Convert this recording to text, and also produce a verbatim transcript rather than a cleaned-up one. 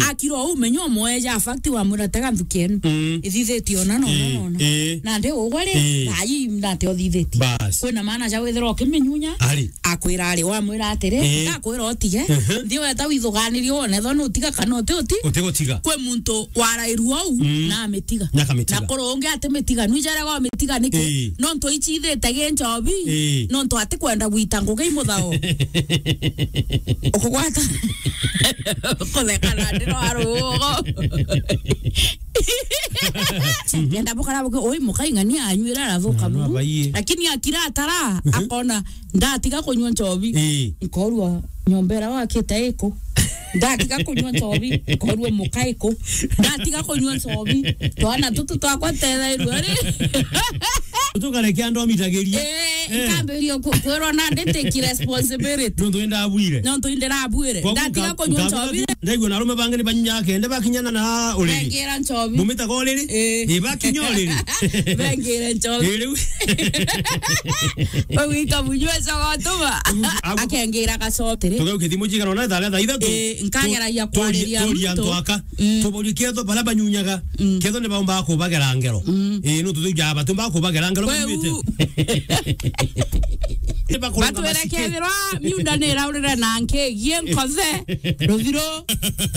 Akira uu, menya umweja fact, wamwira, "Tega nthuki enu. Mm. Ithithitie ona, nona, Ii, nona." Ii. Nandi ugwe ri, Ii. Thaa ii nate uthithitie. Bas. Kwina maana ja withirwa ukiminyunya, Ari. Akwira ari, wamwira atiri, Ii. "Ndakwira utige, Mhm. nthi weta withuganirie wone, ethwa nutiga kana uti uti." Utigutiga. Kwi muntu warairua uu, Mm. na amitiga. Na akamitiga. Na kuru ungi atimitiga, nwijarega umitiga niki? Ii. Nontu ichithite gi nchobi, Ii. Nontu atikwenda gwita ngugi i muthao. Ukugwata. Kutheka na ndiro arugo. Ngenda bukara buke, oi, mukaing'ania anyuira arathuka Mwana buru. Abaiye. Lakini akira atara, Mhm. Akona, "Ndatiga kunyua nchobi." Ii. Nkorua nyomba ira wakite iku. "Ndatiga kunyua nchobi." Nkorua muka iku. "Ndatiga kunyua nchobi." Twana tutu twakwa tethairua ri. Tukarekia ndomitagiria. Eh, Eh. Nkambiria ku-, kwirwa na nditiki responsibility. Nontu indabwire. Nontu indirabwire. Kwa Ndatiga kuka-, kunyua nchobi. Ndaigua na arume bangi ni banyunya kende bakinyana na uriri. Bengira nchobi. Bumitaga uriri? Eh. Ii, bakinya uriri. Bengira nchobi. Ii, riu. Ugwika munyua cogotuma. Agu-, agu- Akengira gacobi ri. Tugeuke thimu cigana ona thaa, thaa ithatu. Ii, nkageragia Tu-, turia, kwariria turia muntu. Antu aka. Mm. Tuborie ketho baria banyunyaga. Mm. Ketho ni baumbaga kubagera ngero. Mm. Ii, nontu tujuaga batumbaga kubagera ngero. Kweu. Banyuite. Ni bakuraga Batwire maciki. Kethirwa miunda ni iraurire na nkigie nkothe, ruthiro.